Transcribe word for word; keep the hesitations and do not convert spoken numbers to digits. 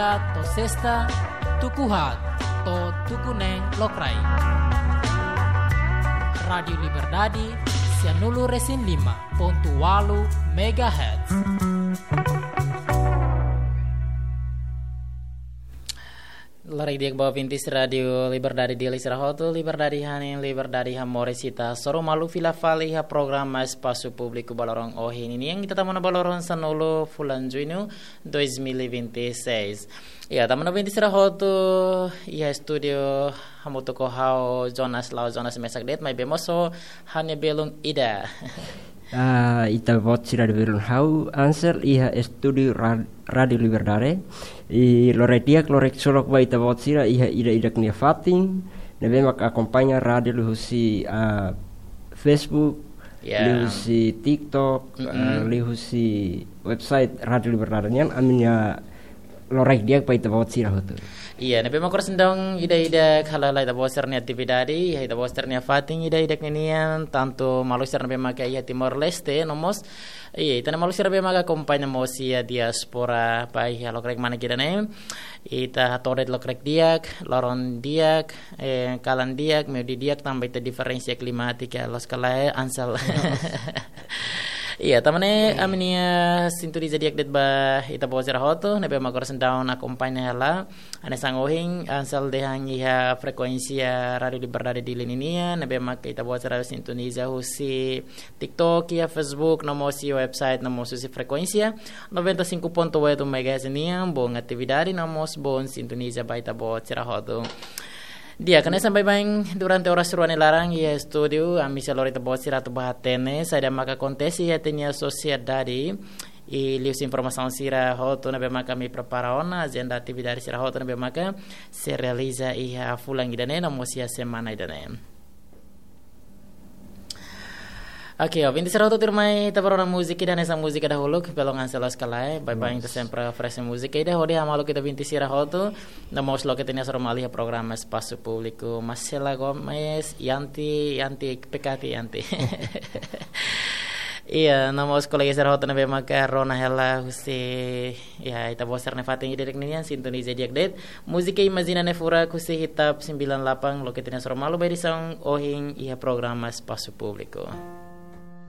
To'o sesta, tuku haat to'o tuku neen lokraik. Rádiu Liberdade, sianulu resin lima pontu walu megahertz. Loraik di'ak ba ouvintes Rádiu Liberdade Dili sira hotu, Liberdade hanesan, Liberdade hamoris, ita hasoru malu fila fali iha programa Espasu Públiku ba loron ohin ninian, ita tama ona ba loron sanulu fulan Juñu dois mil e vinte e seis. Ya, tama ona ouvintes sira hotu, iha estúdiu hamutuk ho ha'u Jonas, la'ós Jonas mesak de'it, maibé mós ho ha'u-nia belun ida. Ah, ita-boot sira, belun ha'u Ansel, iha estúdiu Ra-, Rádiu Liberdade. I loraik di'ak, loraik solok ba ita-boot sira iha ida-idak nia fatin, ne'ebé mak akompaña rádiu liuhusi, ah, Facebook, Ya. liuhusi TikTok, Mm-mm. ah, liuhusi website Rádiu Liberdade nian, ami-nia loraik di'ak ba ita-boot sira hotu. Iya, ne'ebé mak oras ne'e daudaun ida-idak hala'o ita-boot sira-nia atividade, iha ita-boot sira-nia fatin ida-idak ninian, tantu maluk sira ne'ebé maka iha Timor-Leste, no mós, iya, ita-nia maluk sira ne'ebé maka akompaña mós iha diáspora, ba iha lokraik manek ida-ne'e. Ita hato'o de'it lokraik di'ak, loron di'ak, eh, kalan di'ak, meiudia di'ak, tanba iha diferensa klimátika, loos ka lae, Ansel. Iya, tanba ne'e, ami-nia sintoniza di'ak de'it ba ita-boot sira hotu, ne'ebé mak oras ne'e daudaun akompaña hela. Hanesan ohin, Ansel dehan iha frekuénsia Rádiu Liberdade Dili ninian, ne'ebé mak ita-boot sira sintoniza husi TikTok, iha Facebook, no mós iha website, no mós husi frekuénsia noventa e cinco ponto oito megahertz nian, boa atividade, no mós boa sintoniza ba ita-boot sira hotu. Di'ak, hanesan baibain durante oras rua nia laran iha estúdiu, ami sei lori ita-boot sira atu bá hatene saida maka akontese iha ita-nia sosiedade, i liuhusi informasaun sira hotu ne'ebé maka ami prepara ona, ajenda atividade sira hotu ne'ebé maka sei realiza iha fulan ida-ne'e, no mós iha semana ida-ne'e. Oke, ouvintes sira hotu, tuirmai ita bá rona múzika ida, hanesan múzika dahuluk, belun Ansel, loos ka lae, baibain ita Loos. sempre oferese múzika ida hodi hamaluk ita ouvintes sira hotu, no mós loke ita-nia hasoru malu iha programa Espasu Públiku, Marcela Gomes, Yanti, Yanti, Pekati, Yanti. Iya, no mós kolega sira hotu ne'ebé maka rona hela husi, ya, ita-boot sira-nia fatin ida-idak ninian, sintoniza di'ak de'it. Múzika Imajina Ne'e Furak husi Hitap sembilan delapan, loke ita-nia hasoru malu ba edisaun ohin iha programa Espasu Públiku.